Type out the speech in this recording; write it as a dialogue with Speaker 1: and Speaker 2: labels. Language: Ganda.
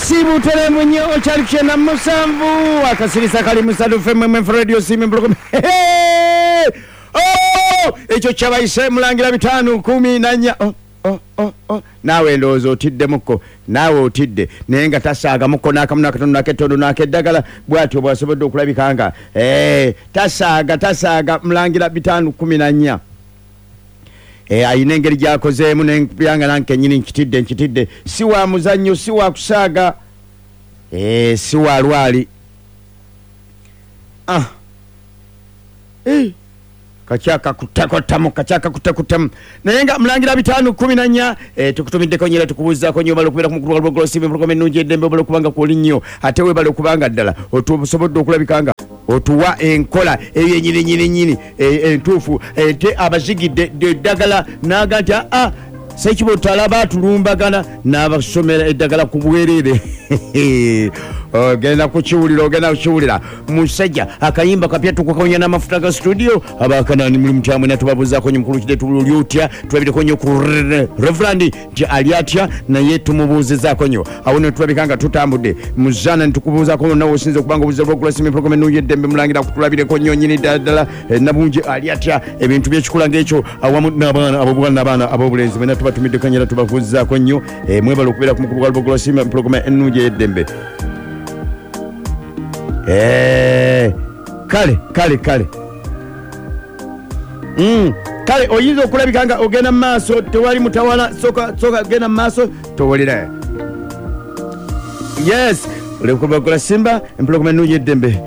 Speaker 1: Butereevu nnyo, okyali ku 97 akasirisa kali musatu fmmf radio simi mpulukumi. Oh! Ekyo kyabayise mulangira 514. Oh, oh, oh, oh. Naawe ndowooza otiddemukko, naawe otidde, naye nga tasaagamukko n'akamu n'akatono n'akettondo n'akeddagala. Bw'atyo bw'asobodde okulabika nga tasaaga, tasaaga. Mulangira 514. Ayina engeri gy'akozeemu nempyanga nange kennyini nkitidde, nkitidde. Si wa muzannyo, si wa kusaaga, si wa lwali. Ah. Kakyakakuttakuttamu, kakyakakuttakuttamu, naye nga mulangira 514. Tukutumiddeko nnyo era tukubuuzaako nnyo. Obala okubeera ku mukulu wa Lwogolo Simba, empologoma ennungi eddembe. Obala okubanga kwoli nnyo, ate weebale okubanga ddala otusobodde okulabika nga otuwa enkola eyo yennyini nyini nyini entuufu ate abazigidde eddagala n'aga nti aa Ssekibotta alaba atulumbagana n'abasomera eddagala ku bwereere. Ogenda kukiwulira, ogenda kukiwulira musajja. Akayimba kapya tukukawonya n'amafuta ga studio abakanani muli mutya mwena? Tubabuuzaako nnyo. Mukulu kide tuli otya? Tulabireko nnyo ku Reverend nti ali atya, naye tumubuuzizaako nnyo. Awo ne tulabika nga tutambudde muzaana ne tukubuuzaako wonna wosinza okuba nga obuuza lwogula simi program ennungi eddembe. Mulangira kutulabireko nnyo nnyini ddala ddala. Nabungi ali atya? Ebintu byekikula ng'ekyo awamu n'abaana ab'obuwala n'abaana ab'obulenzi mwena tubatumiddeko nnyo era tubabuuzizaako nnyo. Mwebale okubeera ku mukulu gwa Lubogolwa Simba empologoma ennungi ey'eddembe. Kale kale kale. Kale oyinza okulabika nga ogenda mu maaso, tewali mutawala. Soka soka genda mu maaso towulire. Yes, olekubakola Simba empologoma ennungi eddembe.